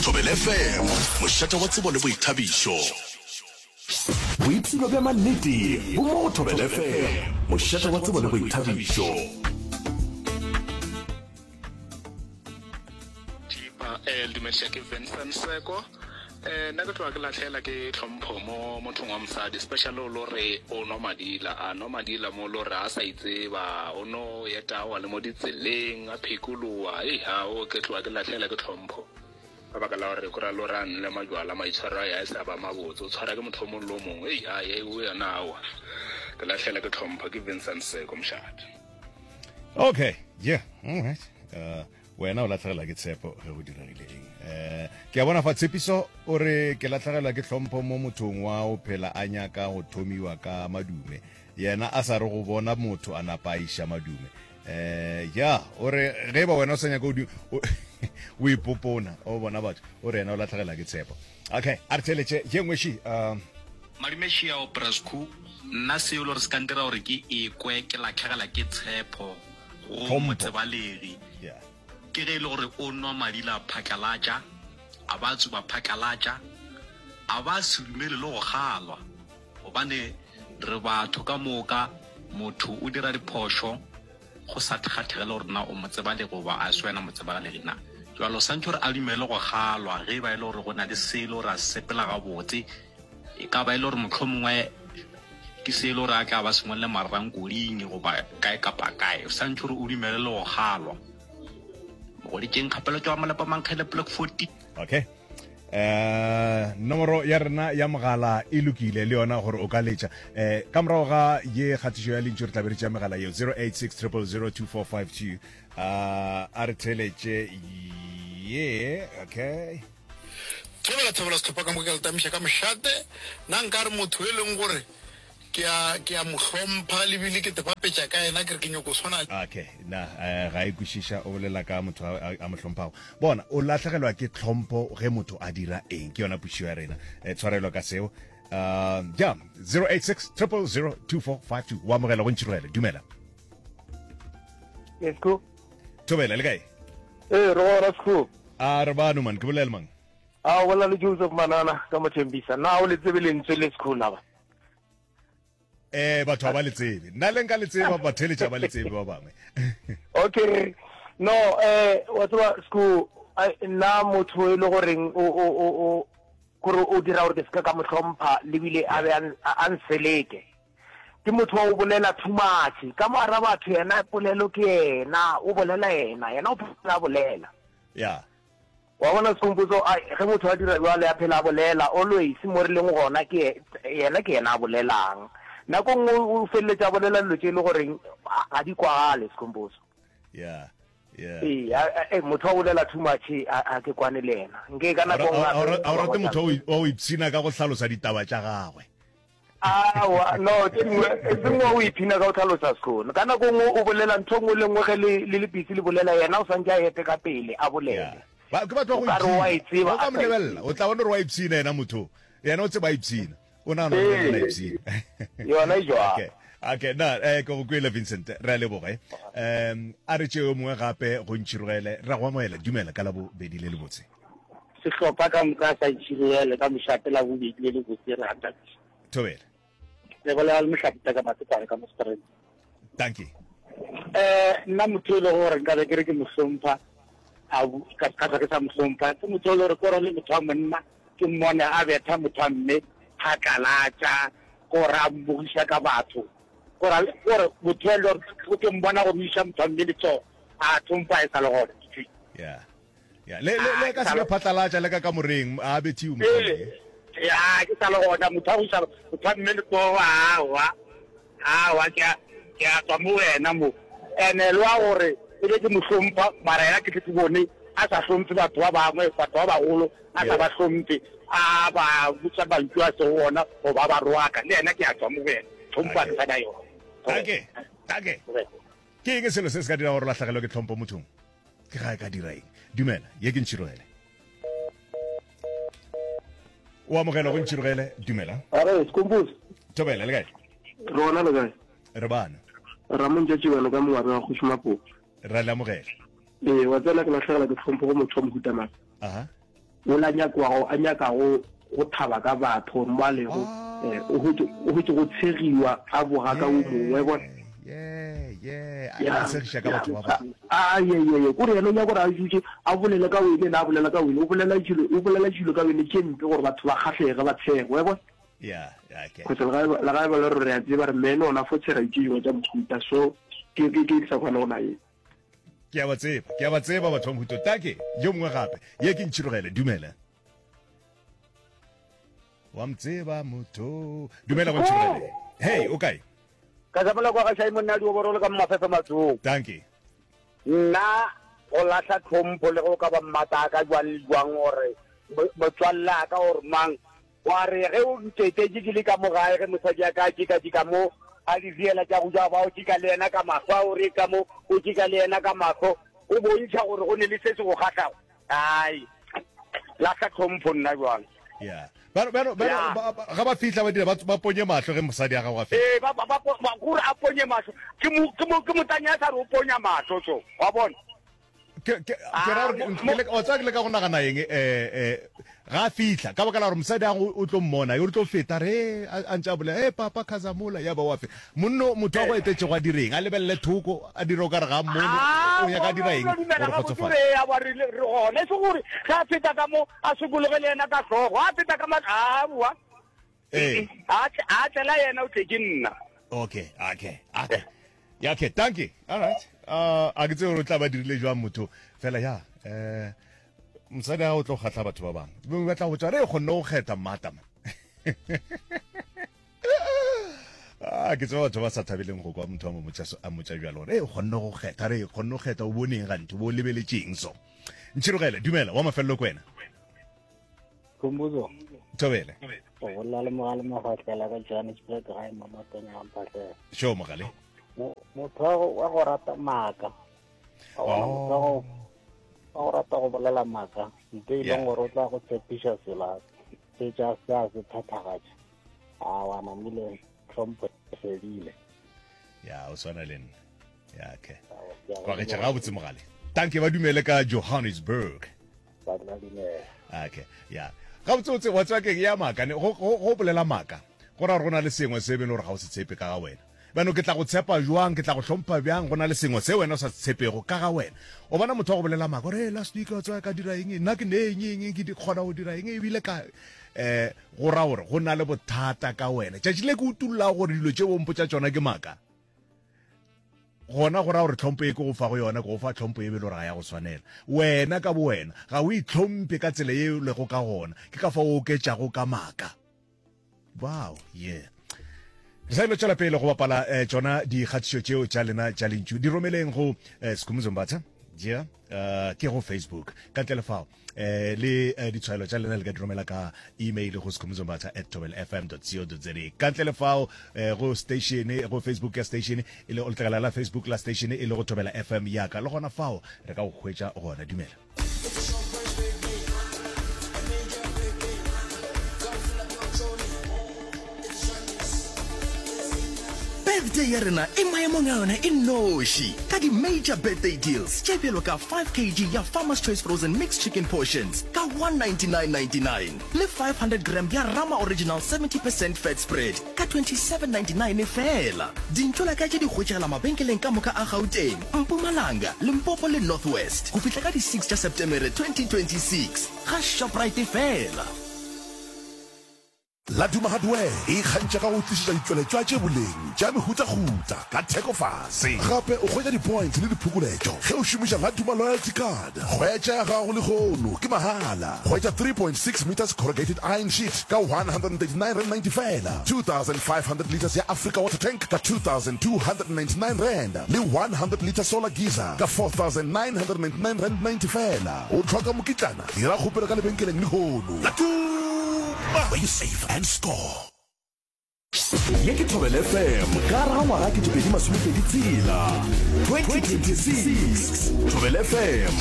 Thobela FM, mošate wa tsebo le boithabišo. Boipshino bja mannete bo mo go Thobela FM, mošate wa tsebo le boithabišo. Thipa, eh, le dumediša ke Vincent Seko. Eh, nna ke tloga ke lahlela ke tlhompho mo mothong wa mosadi, especially o lo re o nwa madila, a nwa madila mo lo re a sa itseba, o no etawa le mo ditseleng, a phekoloa, ei ha o ke tloga ke lahlela ke tlhompho. Ka baka la gore kura lo re a nle majwala, maitshwaro a ya e sa ba mabotse, o tshwara ke motho o mongwe le o mongwe, ei ha ye o yona awa. Ke lahlela ke tlhompho, ke Vincent Seko mošate. Okay, yeah, all right. Uh, wena o latlhegelwa ke tshepo ge go diregile eng um ke a bona fa tshepiso o re ke latlhegelwa ke tlhompho mo mothong wa o phela a nyaka go thomiwa ka madume yena a sa re go bona motho a napa a iša madume um ya o re ge e ba wena o sa nyaka o ipopona o bona batho o re yena o latlhegelwa ke tshepo okay a re theletše ye nngwe ši um Madume Šiao Brasco, nna seo le gore se ka ntira gore ke ekwe ke latlhegela ke tshepo go motsebalegi ke ge e le gore o nwa madila phatlalatša, a ba tsuba phatlalatša, a ba se dumele le go kgalwa. Gobane re batho ka moka, motho o dira diphošo go sa kgathege le gore na o motsebalegi goba a se wena motsebalegi na. Jwale o swantše gore a dumele go kgalwa ge e ba e le gore go na le se e le gore a se sepela gabotse. E ka ba e le gore mohlomongwe ke se e le gore a tla ba sengwe le marrankoding goba kae kapa kae. O swantše gore o dumele le go kgalwa. Mogoditšeng kgapelo tšwa Malepa Mankgele Block 14. Okay. Eh nomoro ya rena ya mogala e lokile le yona gore o ka letša eh ka morago ga ye kgatišo ya lentšu re tla be re tšea megala yeo 086 000 2452 uh, a re theletše ye okay Thobela thobela sehlopha ka moka ke le tamiša ka mošate na nkare motho e leng gore ke a ke a mo hlompha le bile ke tepapetša ka yena ke re ke nyoko swana Okay na eh, ga e kwešiša o bolela ka motho a, a, a mo hlomphago bona o lahlegelwa ke tlhompho ge motho a dira eng ke yona pušišo ya rena eh, tshwarelo ka seo uh, ja 086 000 2452 wa amogela go ntšhirogele dumela Yes, cool. thobela le kae Ee, re gona Sekgowa. A re bano man, ke bolela mang? A o bolela le Joseph Manana ka Mothembisa. Na o le tsebe lentswe le Sekgowa na ba? Eh batho ba le tsebe. Nna le nka le tseba ba theletša ba le tsebe ba bangwe. Okay. No, eh wa tseba Sekgowa nna motho e le goreng o o o o gore o dira gore ke seka ka mo hlompha le bile a be a nseleke. Ke motho wa go bolela too much. Ka mo gara batho yena polelo ke yena, o bolela yena, yena o phela a bolela. Yeah. Wa bona Skhumbuzo, ai ge motho a dira bjalo a phela a bolela always mo re leng gona ke yena ke yena a bolelang. Nako nngwe o feleletša a bolela dilo tše e le goreng ga di kwagale Skhumbuzo. Yeah. Yeah. Ee, a, motho wa bolela too much a ke kwane le yena. Nke ka nako nngwe a o rate motho wa go ipshina ka go hlalosa ditaba tša gagwe. Aowa, no, tše dingwe, e seng wa o iphina ka go hlalosa sekgono. Ka nako nngwe o bolela ntho nngwe le nngwe ge le le le busy le bolela, yena o swantše a ete ka pele a bolele. Ba, ke batho ba O go ka re o a e ipshina. tseba O ka a mo sa e lebelela, tsebe. o tla bona gore wa ipshina yena motho. Yena o tseba a ipshina. O nagana gore le yena o a ipshina. Yona e jwalo. Okay. Okay, na, eh, ke go kwele Vincent, re a leboga. Eh. Um, a re tšee yo mongwe gape go ntšhirogele, ra go amohela, dumela ka labobedi le lebotse. Sehlopha ka moka sa Itšhiruele ka mošate la bobedi le lebotse re a thabiša. Thobela. Le bolela le Mohlapita ka Matekwane ka mo Strand. Dankie. Eh nna motho e le gore nka be ke re ke mo hlompha a ka ka ke sa mo hlompha ke motho e le gore kore le motho wa monna ke mmone a betha motho wa mme phatlalatša gore a mmogiša ka batho gore gore motho e le gore ke mmona gore o iša motho wa mme letsogo a tlhompha e sa le gona yeah Ya, le le le ka se be phatlalatša le ka kamoreng a bethiwe mohlomongwe. Ee, ya ke sa le gona motho a go iša motho a mme letsogo aowa aowa ke a ke a tswa mo wena mo ene le wa gore e be ke mo hlompha mara yena ke tle ke bone a sa hlomphe batho ba bangwe batho ba bagolo a sa ba hlomphe a ba botsa mantšu a sego ona goba ba roaka le yena ke a tswa mo go yena tlhompho a ke sa na yona. Take, take. Ke eng selo se se ka dira gore o lahlegelwe ke tlhompho mothong? Ke ga e ka dira eng? Dumela, ye ke Ntšhirogele. O amogelwa go Ntšhirogele, dumela. Are, Skomposi. Thobela, le kae? Re gona le kae? Re bana. Ramontša Tšibane ka mongwabe wa Kgoši Mapopo. Ra le amogela. Ee, wa tsena ke lahlegela ke tlhompho go motho wa mohuta mang. Aha. Ola nyakwago a nyakago go thaba ka batho gore mo a lego eh, o hwetše o hwetše go tshegiwa a boga ka o mongwe bona. Yeah, yeah, a Ya, a segiša ka ya, batho ba bangwe. a ye ye ye kore yena o nyaka gore a dutše a bolele ka wene ena a bolela ka wene o bolela dilo o bolela dilo ka wene tše mpe gore batho ba kgahlege ba tshege wa bona. Yeah, yeah, okay. Cause le ga e le ga e ba le gore re a tseba re mene ona fo tshega tše dingwe tša mohuta so ke ke ke sa kgone go naye. Ke a ba tseba, ke a ba tseba batho ba mohuta. Take, yo mongwe gape. Ye ke ntšhirogele, dumela. Wa mtseba motho. Dumela go ntšhirogele. Hey, o kae? Ka tsamela kwa ga Shai monna di oborolo ka mafefe matsong. Dankie. Nna go lahla tlhompho le go ka ba mmata ka jwang le jwang gore motswalle a ka gore mang Wa re ge o nketetše ke le ka mo gae, ge mosadi a ka a tšekatšeka mo, a di riela tša go ja, ba o tšeka le yena ka mahlo, a o re ka mo, o tšeka le yena ka mahlo, o bontšha gore go ne le se se go kgahlago. Ai, lahla tlhompho nna bjang. Ya. Ba, ba, ba, Ya. ba, ba, ga ba fihla ba dira ba, ba ponye mahlo ge mosadi a gago a fihla. Ee, ba, ba, ba, ba, gore a ponye mahlo. Ke mo, ke mo, ke motanya a sa re o ponya mahlo, so, wa bona. Ke, ke, ke ra gore ke leka, wa tseba ke leka go nagana eng, eh, eh, ga a fihla, ka baka la gore mosadi a go o tlo mmona, yo tlo feta, re, a, a ntše a bolela, eh, papa Khazamola, ya ba wa fe. Monno, motho wa go etetšego a direng? A lebelele thoko, a dire o ka re ga a mmone, Ah, o nyaka a dira eng o dumela gore gabotse kgotsofale? re ya ba re re gona, e se gore ge a feta ka mo, a sokologe le yena ka hlogo, a feta ka ma, aowa. Ee. A tle, a tlela yena o tle ke nna. Okay, okay, okay. Ya okay, thank you. All right. Uh, a ke tsebe gore o tla ba dirile jwang motho. Fela ya, eh mosadi a o tlo kgahla batho ba bangwe. Bangwe ba tla go botša re kgonne go kgetha mmata man. Ah, ke tseba batho ba sa thabeleng go kwa motho a mo motša so- a motša bjalo gore e kgonne go kgetha re kgonne go kgetha o boneng ganthe bo lebeletšeng so. Ntšhirogele, dumela wa mafelelo ko wena. Khumbuzo. Thobele. O bolela le mogale Magotlela ka Johannesburg gae mo Matonya ga Mphahlele. Sure mogale. Motho wa go wa go rata maaka. Wa bona motho wa go wa go rata go bolela maaka. Nte e leng gore o tla go tshepiša sela fetša se a se phethagatša. A wa namile tlhompho e fedile. Ya o swana le nna. Ya okay. Kwa ge ga botse mogale. Tanke ba dumele ka Johannesburg. Ba tla dumela. Okay, ya. Gabotsebotse, wa tseba keng, ya maaka ne, go, go, go bolela maaka, go ra gore go na le sengwe se e beng le gore ga o se tshepe ka ga wena. Bjano ke tla go tshepa jwang, ke tla go hlompha bjang, go na le sengwe se wena o sa se tshepego ka ga wena. O bona motho wa go bolela maaka, gore, hey, last week, wa tseba ka dira eng, nna ke ne eng, eng, eng, ke di, kgona go dira eng, ebile ka, eh, go ra gore go na le bothata ka wena. Tšatši le ke utullago gore dilo tše o mpotša tšona ke maaka, Gona go ra gore tlhompho ye ke go fago yona, ke go fa tlhompho ye be e le gore ga ya go swanela. Wena ka bowena ga o itlhomphe ka tsela ye o lego ka gona, ke ka fao o oketšago ka maaka. Wow, yeah. Re sa ilo tšwela pele go bapala eh, tšona dikgatišo tšeo tša lena tša lentšu. Di romeleng go eh, Skhumbuzo Mbatha, yeah, uh, ke go Facebook. Ka ntle le fao, eh le eh, ditshwaelo tša lena le ka di romela ka email go skhumuzombatha at tobelfm co za ka ntle le fao eh, go station go facebook ya station e le letlakala la facebook la station e le go thobela fm yaka le gona fao re ka go hwetša gona dumela Birthday ya rena e maemong a yona e nnoši ka di-major birthday deals tše bjalo ka 5 kg ya Farmer's Choice Frozen Mixed Chicken Portions ka 199.99 le 500 gram ya Rama Original 70 percent Fat Spread ka 27.99 feela. Dintšolaka tše di hwetšagala mabenkeleng ka moka a Gauteng, Mpumalanga, Limpopo le North West go fihla ka di 6 tša Setemere 2026 ga Shoprite feela. Laduma Hardware e ikgantšha ka go tlišetša ditšweletšwa tše boleng tša mehutahuta ka theko fase. Gape o hwetša di-points le diphokoletšo ge o šomiša Laduma Loyalty Card. Hwetša ya gago lehono ke mahala. Hwetša 3.6 metres corrugated iron sheet ka R139.90 feela, 2500 litres ya Africa Water Tank ka R2,299 le 100 litre solar geyser ka R4,999.90 feela. O hloka mokitlana? Dira kgopelo ka lebenkeleng lehono. Laduma! Where you save and score. Ye ke Thobela FM ka gare ga ngwaga 2026, 2026. Thobela FM.